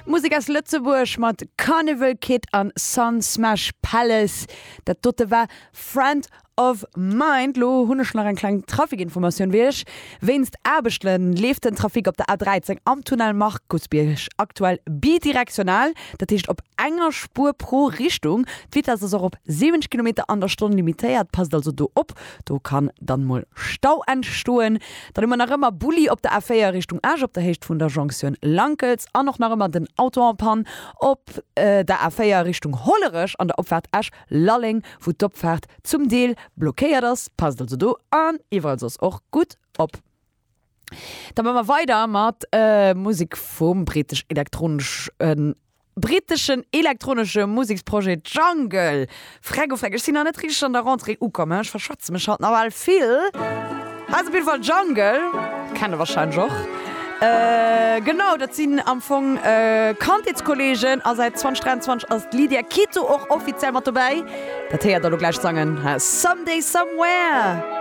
Musek aus Lëtzebuerg mat Carnival Kid an Sun Smash Palace. Dat dote war Friend of Mind. Lo hunn ech nach eng kleng Trafikinformatioun fir iech. Wéinst Aarbechte leeft den Trafic op der A13 am Tunnel Markusbierg aktuell bidirektional, dat heescht op enger Spuer pro Richtung. D'Vitess ass och op 70 Kilometer an der Stonn limitéiert, passt also do op, do kann dann mol Stau entstoen. Dann hu mer nach ëmmer Bulli op der A4 Richtung Esch op der Héicht vun der Jonktioun Lankels an och nach ëmmer den Auto en panne op der A4 Richtung Hollerech an der Opfaart Esch-Lalleng, wou d'Opfaart zum Deel blockéiert ass. Passt also do an iwwerall soss och gutt op. Da maache mer weider mat Musek vum britesch-elektroneschen Britteschen elektronesche Museksprojet Jungle. Freck oh Freck, ech sinn nach net richteg an der Rentrée ukomm, ech verschwätze mech haut nawell vill. Hei ass op jidde Fall Jungle, kennt der warscheinlech och. Genau, dat sinn am Fong Kandheetskolleegen a säit 2023 ass d'Lydia Quito och offiziell mat dobäi. Dat héiert der elo gläich sangen, Someday Somewhere.